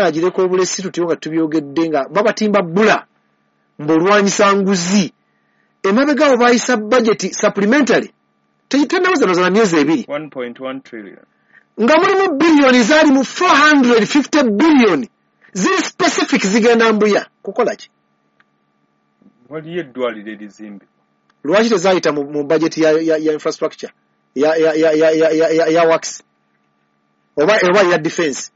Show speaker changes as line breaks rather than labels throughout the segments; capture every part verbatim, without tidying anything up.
Agireka obulesi tutyo nga tubyogedde nga babatimba bbula mb'olwanyisa nguzi. Emabega awo baayisa budget supplementary tennaweza na myezi ebiri,
one point one trillion,
nga mulimu biliyoni zaali mu four hundred fifty billion ziri specific zigenda Mbuya kukola ki?
Waliyo eddwaliro erizimbibwa.
Lwaki tezaayita mu, mu budget ya, ya, ya infrastructure ya, ya, ya, ya, ya, ya, ya, ya works oba, oba ya defense?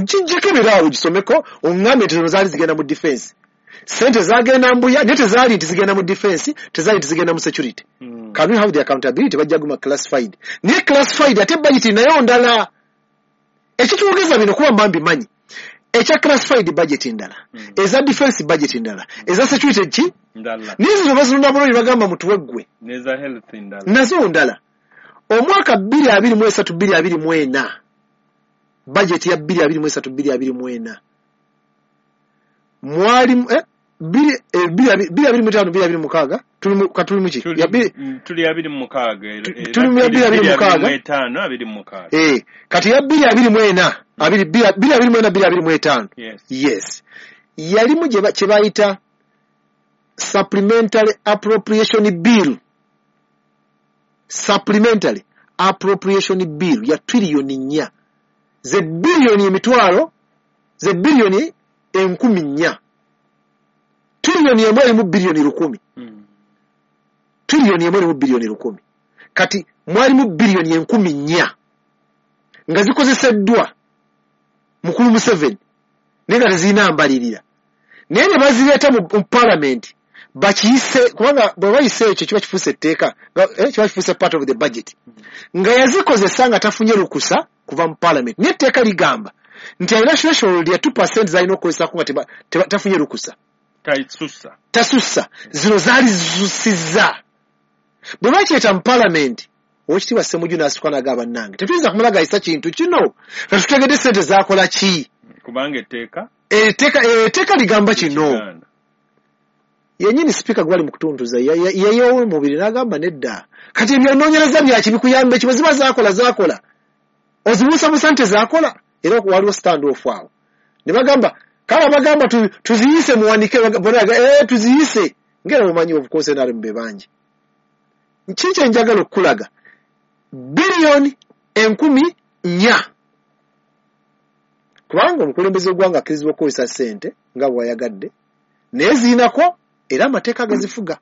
Kijjeko ebiraawo gisomeko oŋŋambe nti zino zaali zigenda mu defense. Sente zagenda Mbuya naye tezaali nti zigenda mu defense, tezaali nti zigenda mu security.
Mm.
Can we have the accountability? Bajja guma classified. Naye classified ate budget nayo ndala. Ekitwogeza bino kuba mba mbimanyi. Ekya classified budget ndala.
Mm.
Eza defense budget ndala. Eza security ki?
Ndala.
Naye zino bazirunda bulungi bagamba mutuwe ggwe.
N'eza health ndala.
Nazo ndala. Omwaka bbiri abiri mu esatu bbiri abiri mu ena. Budget ya bbiri abiri mu esatu bbiri abiri mu ena. Mwalimu eh bbiri eh, bbiri abiri mu ttaano bbiri abiri mu mukaaga tuli mu katuli muki ya bbiri
tuli abiri mu mukaaga
tuli mu bbiri abiri mu mukaaga
etaano abiri mu mukaaga
eh kati ya bbiri abiri mu ena abiri bbiri abiri mu ena bbiri abiri mu etaano.
Yes,
yes. Yalimu kye bayita supplementary appropriation bill, supplementary appropriation bill ya trillioni nnya, ze biliyoni emitwalo, ze biliyoni enkumi nnya, trillioni emu erimu biliyoni lukumi.
Mm.
Trillioni emu erimu biliyoni lukumi. Kati mwalimu biliyoni enkumi nnya nga zikozeseddwa mukulu Museveni naye nga tezirina mbalirira, naye ne bazireeta mu parliament bakiyise, kubanga bwe bayise ekyo kiba kifuuse etteeka, eh, kiba kifuuse part of the budget, nga yazikozesa nga tafunye lukusa kuva mu parliament. Naye etteeka ligamba nti alina threshold ya two percent zalina okukozesako nga tafunye lukusa,
tasussa
tasussa. Zino zaali zisusizza. Bwe bakireeta mu parliament, Oweekitiibwa Ssemujju n'asituka n'agamba, bannange tetuyinza kumala gayisa kintu kino nga tutegedde ssente zaakola ki,
kubanga etteeka
etteeka ligamba kino. Yennyini sipiika gwali mu kutuntuza yeyeewo omubiri n'agamba nedda. Kati ebyonoonyereza byaki bikuyamba ki? Bwe ziba zaakola zaakola, ozibuusabuusa nti tezaakola. Era waliwo stand off awo ne bagamba kale bagamba tuziyise muwanike, bona eh tuziyise ngera mumanyi of course N R M be bangi. Kiki kye njagala okukulaga, biliyoni enkumi nnya, kubanga omukulembeze w'eggwanga akkirizibwa okukozesa ssente nga bw'ayagadde, naye zirinako era amateeka agazifuga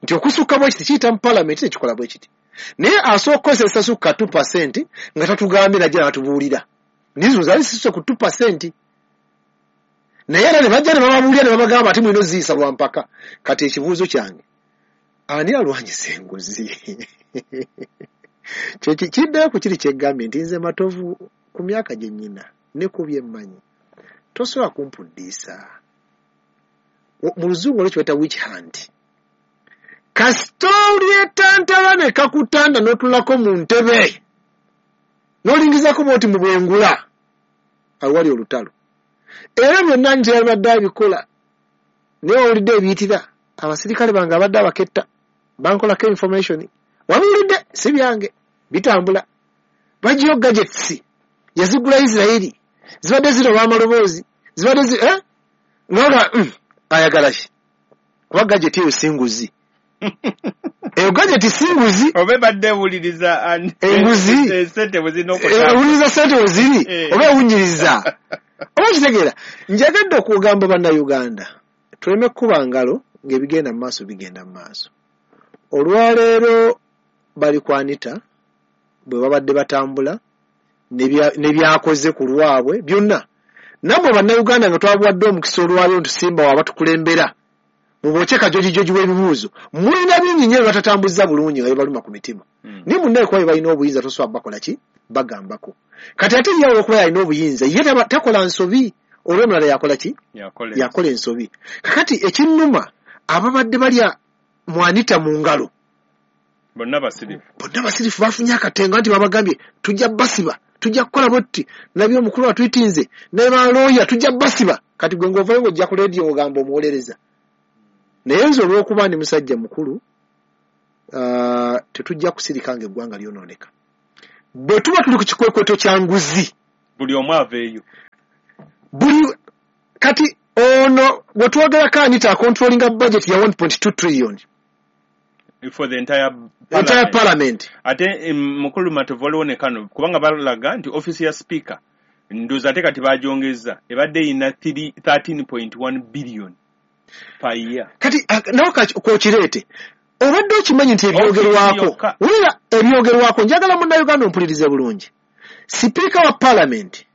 nti okusukka bwe kiti kiyita mu parliament tekikola bwe kiti, naye asooka okukozesa esasukka two percent nga tatugambye najja n'atubuulira. Nizo zaali zisuse ku two percent, naye era ne bajja ne bababuulira ne babagamba ati mulina oziyisa lwa mpaka. Kati ekibuuzo kyange, ani alwanyisa enguzi? Kiddayo ku kiri kyeggambye nti nze Matovu ku myaka gye nnyina ne ku bye mmanyi tosobola kumpuddiisa. Mu luzungu olwo kye bayita witch hunt. Kasita olyetantala ne kakutanda n'otulako mu ntebe n'olingizako bw'oti mu bwengula, awo wali olutalo. Era byonna nti yabadde abikola, naye owulidde ebiyitira abasirikale bange abadde abaketta bankolako information, wabiwulidde si byange bitambula. Bagiyo gadgets yazigula Israeli, zibadde ziroba amaloboozi, zibadde zi eh nga mm, ayagala ki? Kuba gadget eyo si nguzi. Eyo gadget si nguzi.
Oba ebadde ewuliriza
enguzi,
ssente bwe zirina okutambula,
ewuliriza ssente bwe ziri, oba ewunyiriza. Oba kitegeera, njagadde okugamba bannayuganda tuleme kukuba ngalo ng'ebigenda mu maaso bigenda mu maaso. Olwaleero bali ku Anita bwe babadde batambula ne byakoze ku lwabwe byonna. Nammwe bannayuganda nga twabuwadde omukisa olwaleero nti Simba w'abatukulembera mubokye kajojijoji w'ebibuuzo, mulina bingi nnyo bye batatambuzza bulungi nga bibaluma ku mitima. Naye munnaye kuba balina obuyinza tosobola bakola ki? Bagambako. Kati ate ye olw'okuba yalina obuyinza ye takola nsobi, olw'omulala yakola ki? Yakola ensobi. Kakati ekinnuma ababadde balya mu Anita mu ngalo
bonna basirifu,
bonna basirifu bafunye akatengo nti babagambye tujja basiba, tujja kukola bwetuti, nabye omukulu atwitinze ne balooya tujja basiba. Kati gwe ng'ovayo ng'ojja ku leediyo ng'ogamba omuwolereza. Naye nze olw'okuba ndi musajja mukulu, uh, tetujja kusirika ng'eggwanga lyonooneka. Bwe tuba tuli ku kikwekweto kya nguzi,
Buli omu aveeyo.
Buli kati ono gwe twogerako Anita acontrollinga budget ya one point two trillion
for the entire
entire parliament.
Ate mukulu Matovu waliwo ne kano kubanga balaga nti office ya speaker ndowooza ate kati bagyongezza ebadde eyina thirteen point one billion per year.
Kati nawe k'okireete obadde okimanyi nti ebyogerwako wulira ebyogerwako njagala munnayuganda ompulirize bulungi. Sipiika wa parliament,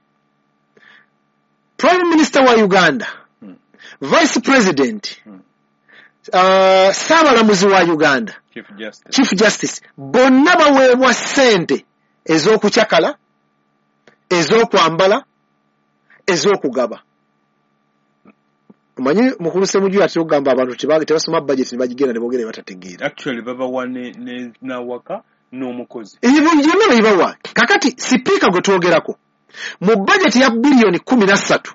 Prime Minister wa Uganda, hmm. Vice President, hmm. uh, Ssaabalamuzi wa Uganda,
Chief Justice,
Chief Justice bonna baweebwa ssente ez'okucakala, ez'okwambala, ez'okugaba. Omanyi mukulu Ssemujju atera okugamba abantu tebasoma budget ne bagigenda ne boogera batategeera.
Actually babawa ne nawaka n'omukozi.
Ebyo byonna babibawa. Kakati sipiika gwe twogerako mu budget ya biliyoni kumi na ssatu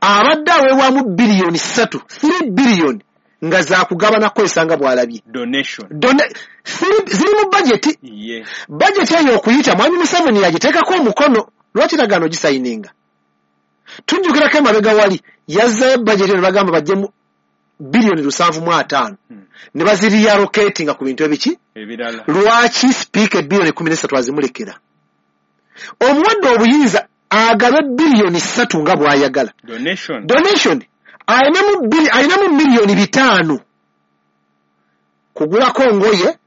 abadde aweebwamu biliyoni ssatu three billion nga zakugaba na kukozesa nga bw'alabye.
Donation.
Dona, ziri mu budget.
Yeah.
Budget eyo okuyita Mwami Museveni yagiteekako omukono lwaki tagaana ogisayininga. Tujjukirako emabega wali yazzayo budget ne bagamba baggyemu biliyoni lusanvu mu ataano
hmm.
ne baziriallocatinga ku bintu ebiki
ebirala.
Lwaki sipiika biliyoni kumi na ssatu azimulekera? Omuwadde obuyinza agabe biliyoni ssatu nga bw'ayagala.
Donation.
Donation. Ayinamu bili ayinamu miliyoni bitaano kugulako ngoye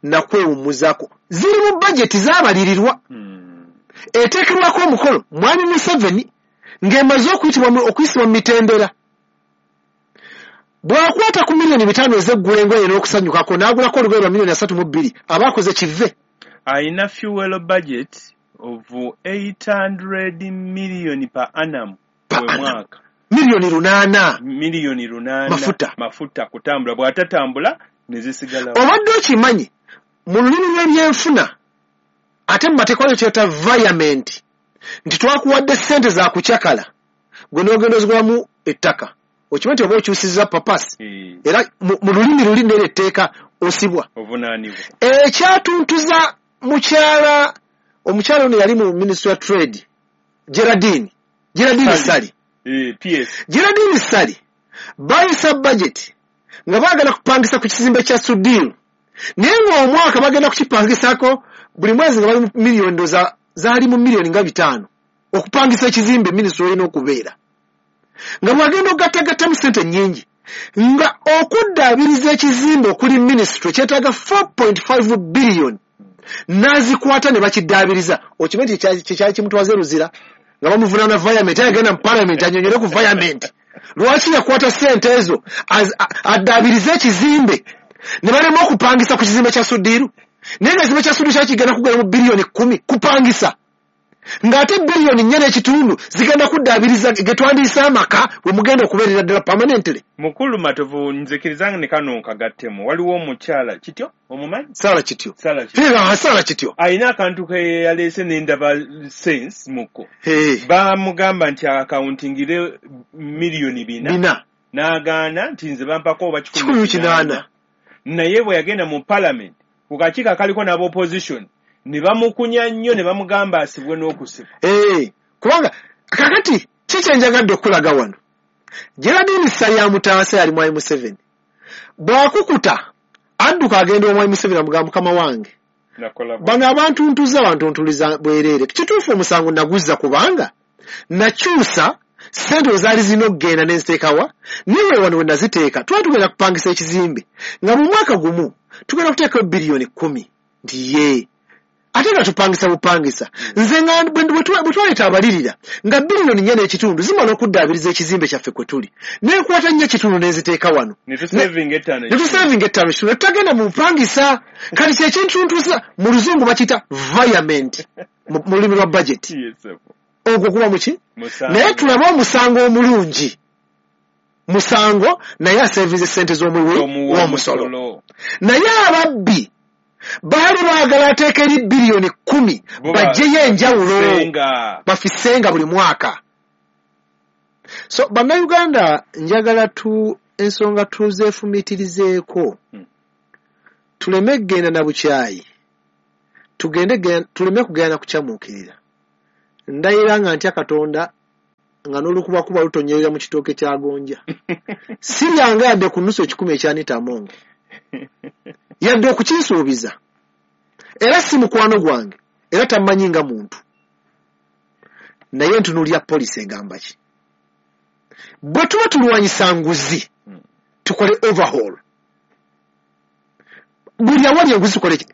na kwewummuzaako. Ziri mu budget zaabalirirwa.
Hmm.
Eteekerwako omukono Mwami Museveni ng'emaze okuyitibwa okuyisibwa mu mitendera. Bw'akwata ku miliyoni bitaano ez'eggula engoye n'okusanyukako n'agulako olugoye lwa miliyoni asatu mu bbiri aba akoze kive.
Ayina fuel budget of eight hundred million per annum bwe mwaka.
Miliyoni lunaana.
Miliyoni lunaana.
Mafuta.
Mafuta kutambula bw'atatambula ne zisigala.
Obadde okimanyi mu lulimi lw'ebyenfuna ate mu mateeka waliwo kyeyita virement nti twakuwadde ssente za kucakala gwe n'ogenda ozigulamu ettaka. Okimanyi nti oba okyusizza papasi
e.
Era mu lulimi luli n'era etteeka osibwa.
Ovunaanibwa.
Ekyatuntuza mukyala omukyala ono yali mu Ministry of Trade Geraldine Geraldine Ssali.
Eh, P S.
Geraldine Ssali bayisa budget nga baagala kupangisa ku kizimbe kya Sudiru naye ng'omwaka bagenda kukipangisako buli mwezi nga bali mu miliyoni ndoza zaali mu miliyoni nga bitaano okupangisa ekizimbe minisitule olina okubeera nga bwagenda okugattagattamu ssente nnyingi nga okuddaabiriza ekizimbe okuli minisitule kyetaaga four point five billion n'azikwata ne bakiddaabiriza. Okimanyi nti kyekyali kimutwaza e Luzira nga bamuvunaana virement agenda mu parliament annyonnyole ku virement lwaki yakwata ssente ezo addaabirize ekizimbe ne balema okupangisa ku kizimbe kya Sudiru naye nga ekizimbe kya Sudiru kyali kigenda kugula mu biliyoni kkumi kupangisa ng'ate biliyoni nnya n'ekitundu zigenda kuddaabiriza ge twandiise amaka we mugenda okubeerera ddala permanently.
Mukulu Matovu nzikirizanga ne kano nkagattemu waliwo omukyala Kityo omumanyi?
Sara Kityo.
Sara Kityo.
Sara Kityo.
Ayina akantu ke yaleese n'endaba sense muko.
Hey.
Bamugamba nti akauntingire miliyoni bina.
Bina.
N'agaana nti nze bampako oba
kikumi kinaana.
Naye bwe yagenda mu parliament ku kakiiko akaliko n'ab'opposition ne bamukunya nnyo ne bamugamba asibwe n'okusibwa.
Eh, kubanga kakati ki kye njagadde okulaga wano Geraldine Ssali amutaasa yali Mwami Museveni bw'akukuta adduka agenda omwami Museveni amugamba mukama wange bano abantu ntuza bantuntuliza bwereere. Kituufu omusango naguzza kubanga nakyusa ssente we zaali zirina okugenda ne nziteekawa naye wano we naziteeka twali tugenda kupangisa ekizimbe nga mu mwaka gumu tugenda kuteekayo biliyoni kkumi nti ye ate nga tupangisa bupangisa nze nga bwe twaleeta abalirira nga biliyoni nnya n'ekitundu zimala okuddaabiriza ekizimbe kyaffe kwe tuli nenkwata nnya kitundu n'enziteeka wano
ne tusevinga ettaano
ne tusevinga ettaano kitundu ne tutagenda mu bupangisa. Kati kyekintuntuza mu luzungu bakiyita virement mu lulimi lwa budget. Ogwo guba muki? Naye tulabe omusango omulungi musango naye asevinze ssente z'omuwi w'omusolo naye ababbi baali baagala ateeka eri biliyoni kkumi baggyeyo enjawulo bafisenga buli mwaka. So bannayuganda njagala tu ensonga tuzeefumiitirizeeko
hmm.
tuleme kugenda na bukyayi tugende tuleme kugenda na kukyamuukirira Ndayira nga ntya Katonda nga n'olukubakuba lutonyerera mu kitooke kya gonja. Siryanga yadde ku nnusu ekikumi ekya Anita Among. Yadde okukinsuubiza. Era si mukwano gwange, era tammanyi nga muntu. Naye ntunuulira poliisi egamba ki? Bwe tuba tulwanyisa nguzi, tukole overhaul. Buli awali enguzi tukole ki?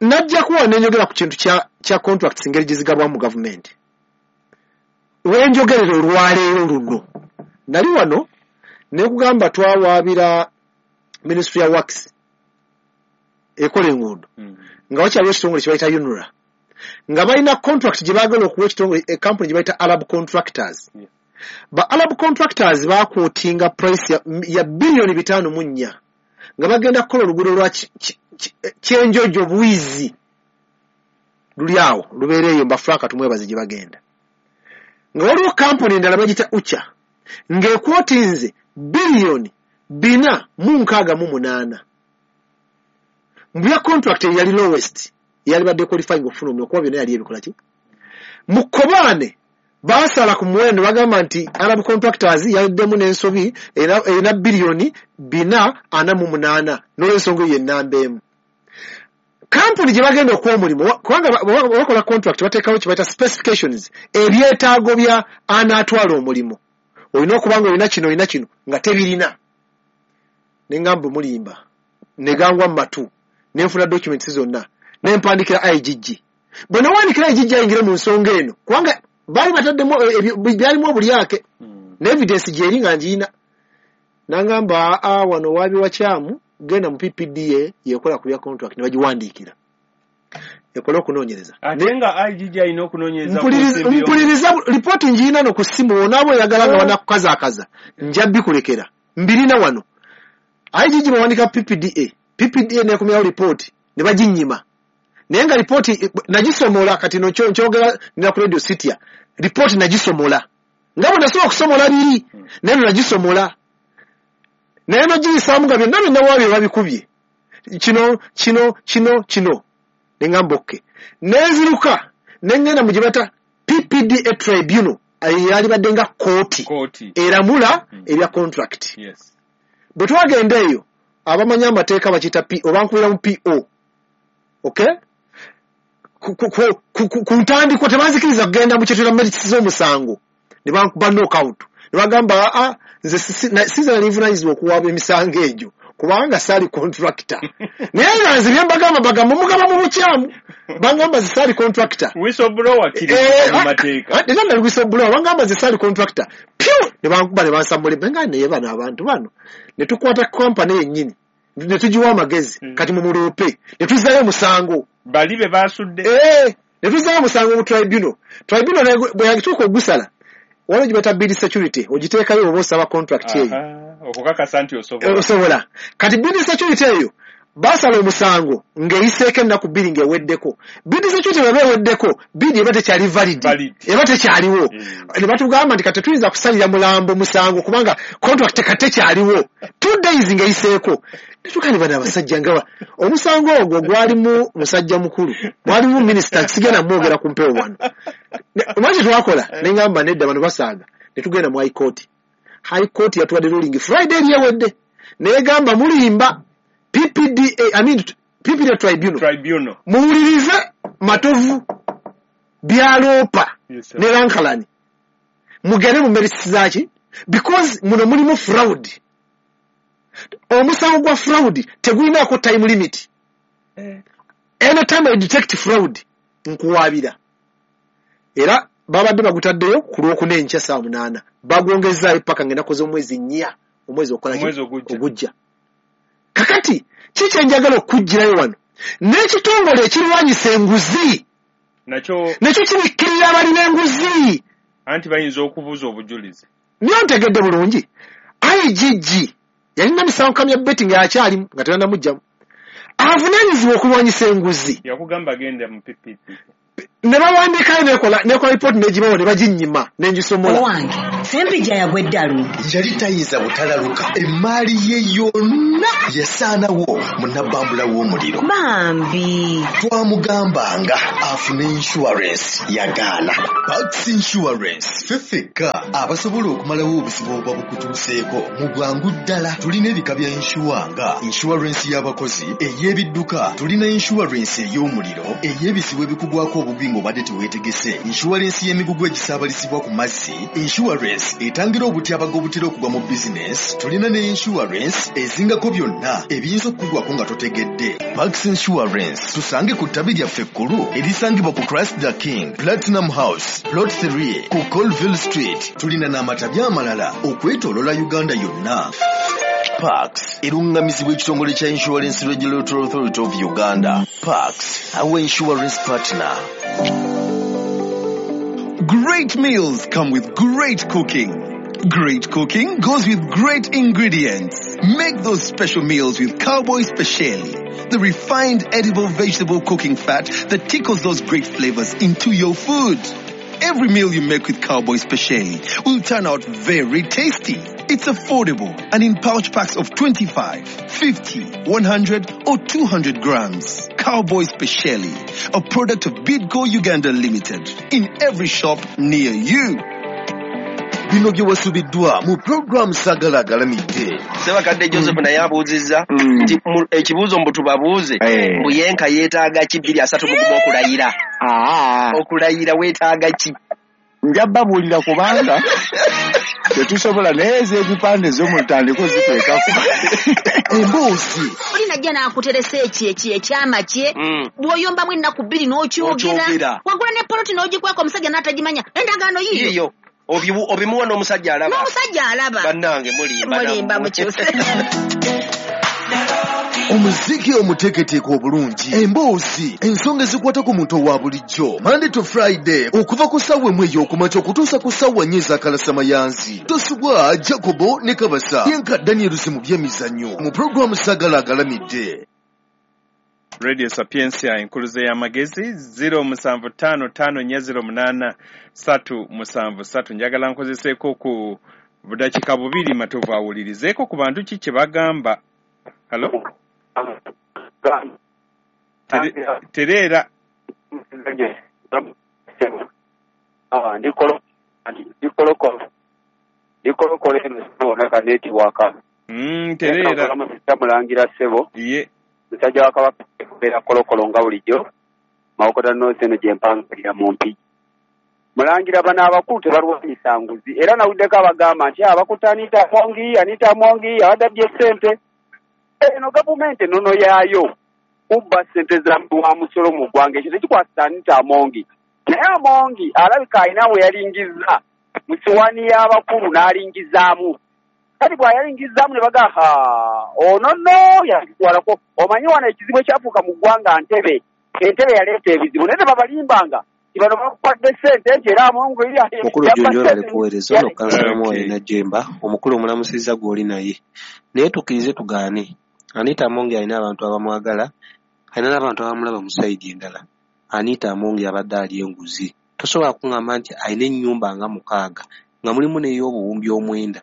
Najja kuwa nenjogera ku kintu kya, kya contracts engeri gye zigabwa mu gavumenti. Wenjogerera olwaleero luno. Nali wano ne kugamba twawaabira Ministry ya Works ekola enguudo.
Mm.
Nga wakyaliwo ekitongole kye bayita UNRA. Nga balina contract gye baagala okuwa ekitongole, e company gye bayita Arab Contractors.
Yeah.
Ba Arab Contractors baaquotinga price ya, ya biliyoni bitaano mu nnya. Nga bagenda kukola oluguudo lwa Kyenjojo Bwizi. Luli awo, lubeera eyo mba Frank Tumwebaze gye bagenda. Nga waliwo kampuni endala bagiyita Ucha. Ng'ekwotinze biliyoni bina mu nkaaga mu munaana. Mu bya contract eyali lowest, yali badde qualifying okufuna omulimu kuba byonna yali ebikola ki? Mu Kobaane baasala ku muwendo bagamba nti Arab Contractors yaddemu n'ensobi erina biliyoni bina ana mu munaana n'olwensonga eyo ennamba emu. Kampuni gye bagenda okuwa omulimu kubanga bakola contract bateekawo kye bayita specifications, ebyetaago bya anaatwala omulimu. Olina okuba nga olina kino olina kino nga tebirina. Ne ngamba mulimba, ne gangwa mu matu, ne nfuna documents zonna, ne mpandikira I G G. Bwe nawandiikira I G G ayingire mu nsonga eno kubanga baali bataddemu byalimu obulyake ne evidence gy'eri nga ngiyina. N'angamba a wano waabi wakyamu genda mu P P D A yekola ku bya contract ne bagiwandiikira. Ekola okunoonyereza.
Ate nga I G G alina okunoonyereza.
Mpuliriza lipooti ngiyina no ku ssimu onaaba oyagala nga banakukazaakaza nja bikulekera. Mbirina wano. I G G bawandiika P P D A. P P D A neekomyawo lipooti ne baginnyima. Naye nga lipooti nagisomola kati no nkyogera nina ku Radio City. Lipooti nagisomola. Nga bwe nasobola okusomola biri naye no nagisomola. Naye nogiyisaamu nga byonna byonna waabyo babikubye. Kino, kino, kino, kino. Ne ngamba okay. Ne nziruka ne ngenda mu gye bayita P P D A Tribunal eyali badde nga kkooti eramula ebya contract.
Yes.
Bwe twagenda eyo abamanyi amateeka bakiyita P O, bankubira mu P O. Okay? Ku ntandikwa tebanzikiriza kugenda mu kyetuyita merits z'omusango. Ne bankuba knockout. Ne bagamba a nze sinze nali nvunaanyizibwa okuwaaba emisango egyo kubanga saali contractor. Naye nga nze bye mbagamba bagamba mugaba mu bukyamu. Bangamba nze saali contractor.
Whistleblower kiri mu mateeka.
Era nali whistleblower bangamba nze saali contractor. Pyu! Ne bankuba ne bansambula nga naye bano abantu bano. Ne tukwata company yennyini. Ne tugiwa amagezi kati mumuloope. Ne tuzzayo omusango.
Bali be baasudde.
Eh, ne tuzzayo omusango mu tribunal. Tribunal bwe yatuuka ogusala waliwo gye bayita bid security ogiteekayo oba osaba contract eyo.
Okukakasa nti osobola.
Osobola. Kati bid security eyo basala omusango ng'eyiseeko ennaku bbiri ng'eweddeko. Bid security bw'eba eweddeko bid eba tekyali valid. Eba tekyaliwo. Ne batugamba nti kati tetuyinza kusalira mulambo musango kubanga contract kati tekyaliwo. Two days ng'eyiseeko. Netukani bano abasajja nga omusango ogwo gwalimu musajja mukulu. Mwalimu minisita sigenda mwogera ku mpewo wano. Omanyi kye twakola ne ngamba nedda bano basaaga. Ne tugenda mu High Court. High Court yatuwadde ruling Friday eri ewedde. N'egamba mulimba P P D A, I mean P P D A Tribunal.
Tribunal.
Muwulirize Matovu byaloopa
yes,
ne Lankalani. Mugende mu merits zaaki because muno mulimu fraud. Omusango gwa fraud tegulinaako time limit.
Eh.
Anytime I detect fraud nkuwaabira. Era babadde bagutaddeyo ku lwokuna enkya ssaawa munaana. Bagwongezaayo paka ng'ennaku z'omwezi nnya omwezi okola ki? Ogujja. Kakati ki kye njagala okuggyirayo wano n'ekitongole ekirwanyisa enguzi
nakyo
nakyo kibikkirira abalina enguzi.
Anti bayinza okubuuza obujulizi.
Niyo ntegedde bulungi. I G G yalina misango kamya betting akyalimu nga tebannamuggyamu. Avunaanyizibwa okulwanyisa enguzi.
Yakugamba genda mu P P P.
Ne bawandiikayo nekola nekola report negibawo ne baginnyima nengisomola.
Owange Sempijja yagwa eddalu.
Yali tayinza butalaluka, emaali ye yonna yasaanawo mu nabbambula w'omuliro.
Bambi
twamugambanga afune insurance, yagaana. Pax Insurance ffe ffekka abasobola okumalawo obuzibu obuba bukutuuseeko mu bwangu ddala. Tulina ebika bya insure nga insurance y'abakozi, ey'ebidduka, tulina insurance ey'omuliro, ey'ebizibu ebikugwako obugwi ng'obadde teweetegese, insurance y'emigugu egisaabalizibwa ku mazzi, insurance etangira obutyabaga obutera okugwa mu bizinesi, tulina ne insurance ezingako byonna ebiyinza okukugwako nga totegedde. Pax Insurance tusange ku ttabi lyaffe ekkulu erisangibwa ku Christ the King Platinum House Plot three ku Colville Street. Tulina n'amatabi amalala okwetooloola Uganda yonna. Pax erungamizibwa ekitongole kya Insurance Regulatory Authority of Uganda. Pax, our insurance partner.
Great meals come with great cooking. Great cooking goes with great ingredients. Make those special meals with Cowboy Speciale, the refined edible vegetable cooking fat that tickles those great flavors into your food. Every meal you make with Cowboy Speciale will turn out very tasty. It's affordable and in pouch packs of twenty-five, fifty, one hundred or two hundred grams. Cowboy Speciale, a product of Bidco Uganda Limited, in every shop near you.
Bino bye wasubiddwa mu program Sagala Agalamidde.
Sebakadde Joseph naye abuuzizza nti ekibuuzo mbu tubabuuze mbu yenka yeetaaga ki bbiri asatu mu gumu okulayira. Okulayira weetaaga ki?
Nja babuulira kubanga tetusobola naye ez'ebipande z'omutandiko ziteekako.
Emboozi.
Oli najja n'akuteresa eki eki ekyama kye bw'oyombamu ennaku bbiri n'okyogera. Wagula ne poloti n'ogikweka omusajja n'atagimanya endagaano yiyo.
Obimuwa n'omusajja alaba.
N'omusajja alaba.
Bannange mulimba.
Mulimba mukyuse.
Omuziki omuteeketeeke obulungi, emboozi, ensonga ezikwata ku muntu owa bulijjo. Monday to Friday okuva ku ssaawa emu ey'okumakya okutuusa ku ssaawa nnya ez'akalasamayanzi. Tosubwa Jacobo ne Kabasa yenka Daniel mu by'emizannyo mu pulogulaamu Sagala Agalamidde.
Radio Sapientia enkuluze y'amagezi zero musanvu ttaano ttaano nnya zero munaana ssatu musanvu ssatu. Njagala nkozeseeko ku budakiika bubiri Matovu awulirizeeko ku bantu ki kye bagamba. Hello? Tereera. Mm, tereera.
Mulangira ssebo.
Ye.
Musajja wa Kabaka kubeera kolokolo nga bulijjo Mawokota North eno gye mpangalira mu Mpigi. Mulangira bano abakulu tebalwanyisa nguzi era nawuddeko abagamba nti abakutte Anita Amongi, Anita Amongi abadde abbye ssente. Eno gavumenti ennono yaayo kubba ssente za wa musolo mu ggwanga, ekyo tekikwasisa Anita Amongi. Naye Amongi alabika alina we yalingizza mu siwaani y'abakulu n'alingizaamu. Kati bw'ayalingizaamu ne bagamba ono nno yakitwalako. Omanyi wano ekizibu ekyafuuka mu ggwanga Ntebe, Entebe yaleeta ebizibu naye tebabalimbanga nti bano bakwadde ssente nti era Amongi
Mukulu Jjunju ali kuweereza ono kansala Mwoyo Najjemba, omukulu omulamusizza gw'oli naye. Naye tukkirize tugaane. Anita Amongi alina abantu abamwagala, alina n'abantu abamulaba mu sayidi endala. Anita Amongi abadde alya enguzi. Tosobola kuŋŋamba nti alina ennyumba nga mukaaga nga mulimu n'ey'obuwumbi omwenda.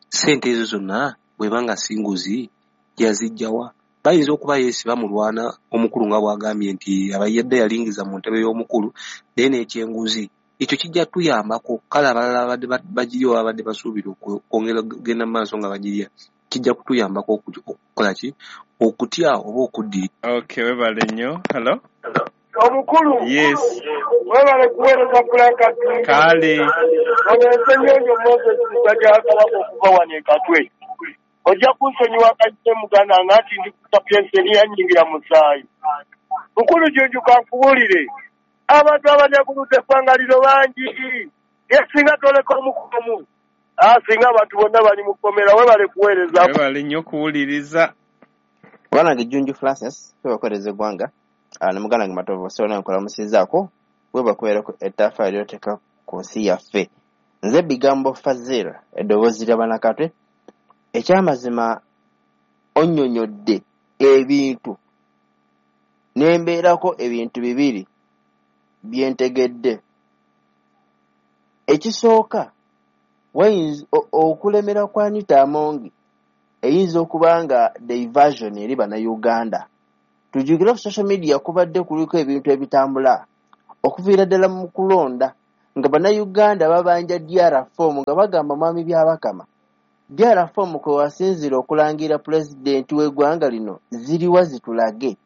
Ssente ezo zonna bw'eba nga si nguzi yaziggya wa? Bayinza okuba yeesiba mulwana omukulu nga bw'agambye nti abayadde yalingiza mu ntebe y'omukulu naye n'ekyenguzi. Ekyo kijja tuyambako kale abalala abadde bagirya oba abadde basuubira okwongera okugenda mu maaso nga bagirya kijja kutuyambako okukola ki? Okutya oba okuddira.
Okay, webale nnyo. Hello?
Omukulu.
Yes.
Webale kuweereza Frank.
Kale.
Ogenze nnyo Moses musajja wa Kabaka okuva wano e Katwe. Ojja kunsonyiwa akajje muganda nga nti ndi ku Sapientia eriyanyingira musaayi. Mukulu Jjunju kankubuulire. Abantu abanyakuludde eggwanga lino bangi. Ye singa toleka omukomu. Ah, singa abantu bonna bali mu kkomera. Webale kuweereza.
Webale nnyo okuwuliriza.
Bwanange Jjunju Francis, twebakolereza eggwanga. Ne muganda wange Matovu Sona nkulamusizzaako webakubeerako ettaffaali ly'oteeka ku nsi yaffe. Nze Bigambo Fazil, eddoboozi lya Bannakatwe. Ekyamazima onnyonnyodde ebintu n'embeerako ebintu bibiri bye ntegedde. Ekisooka, wayinza okulemera kwa Anita Among eyinza okuba nga diversion eri bannayuganda. Tujjukire ku social media kubadde kuliko ebintu ebitambula okuviira ddala mu kulonda nga bannayuganda babanja D R form nga bagamba Mwami Byabakama D R form kwe wasinziira okulangira pulezidenti w'eggwanga lino ziriwa zitulage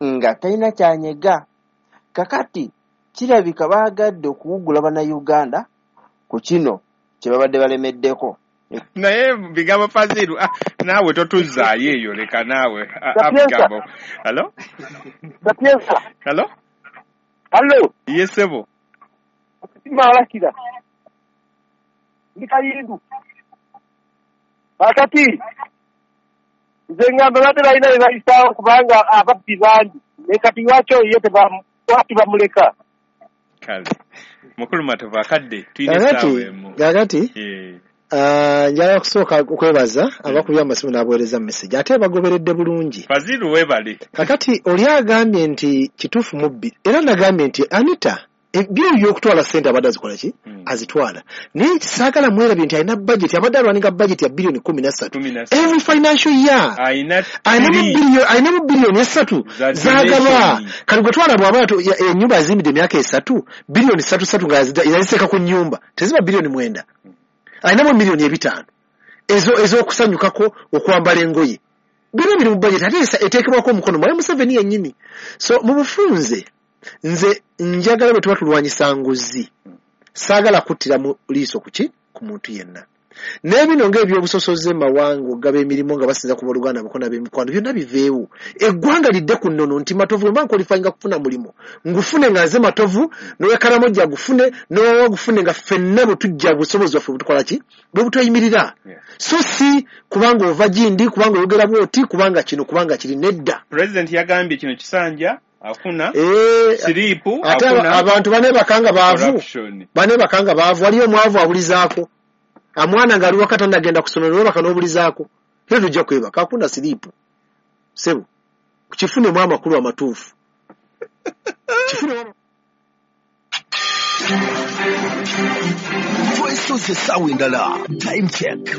nga talina kyanyega. Kakati kirabika baagadde okuwugula bannayuganda ku kino kye babadde balemeddeko.
Naye bigambo Faziru, ah, naawe totuzzaayo eyo, leka naawe. Bigambo. Hello? Hello?
Hello?
Yes, sebo.
Malakira. Ndi Kayindu. Kakati nze ngamba badde balina bye bayisaawo kubanga ababbi bangi, naye kati lwaki oyo ye lwaki bamuleka?
Kale Mukulu Matovu akadde tulina essaawa emu.
Kakati njagala kusooka okwebaza abakubye amasimu n'abaweereza message ate bagoberedde bulungi.
Faziru weebale.
Kakati oli agambye nti kituufu mubbi, era nagambye nti Anita ebyo by'okutwala ssente abadde azikola ki? Azitwala. Naye saagala mwerabye nti alina budget, abadde alwaninga budget ya biliyoni kumi na ssatu every financial year. Alinamu biliyoni esatu z'agaba. Kati gwe twala bw'aba ennyumba azimbidde emyaka esatu, biliyoni ssatu ssatu nga yaziteeka ku nnyumba, teziba biliyoni mwenda. Alinamu miliyoni ebitaano ezo ez'okusanyukako okwambala engoye. Byonna biri mu budget ate eteekebwako omukono Mwami Museveni yennyini. So mu bufunze nze njagala bwe tuba tulwanyisa nguzi, saagala kuttira mu liiso ku ki? Ku muntu yenna. N'ebino ng'ebyobusosoze mawanga okugaba emirimu nga basinza ku booluganda abakono ab'emikwano byonna biveewo. Eggwanga lidde ku nnono nti Matovu bwe mba nkwalifayinga kufuna mulimu, ngufune nga nze Matovu, n'ow'e gufune, n'owawa gufune nga ffenna bwe tujja busobozi bwaffe butukola ki? Bwe butweyimirira. So si kubanga ova gindi, kubanga oyogera bw'oti, kubanga kino, kubanga kiri, nedda.
Pulezidenti yagambye kino kisanja afuna
eh,
siripu
ate abantu baneebakanga baavu, baneebakanga baavu, waliyo omwavu abulizaako amwana ng'ali waka tannagenda ku ssomero n'obaka n'obulizaako, era tujja kwebaka akuna siripu ssebo kifunemu amakulu amatuufu. Kifunemu.
Twesoze essaawa endala. Time check.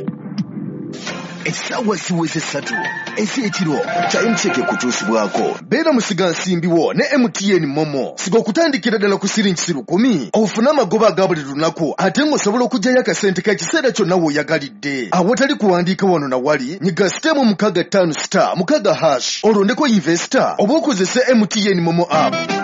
Essaawa ziweze ssatu ez'ekiro. Time check ekutuusibwako. Beera musigansimbi wo ne M T N Momo. Siga okutandikira ddala ku siringi lukumi ofune amagoba aga buli lunaku ate ng'osobola okuggyayo akasente k'ekiseera kyonna w'oyagalidde. Awatali kuwandiika wano na wali, nyiga sitemu mukaaga ttaano star mukaaga hash olondeko investor oba okozese M T N Momo app.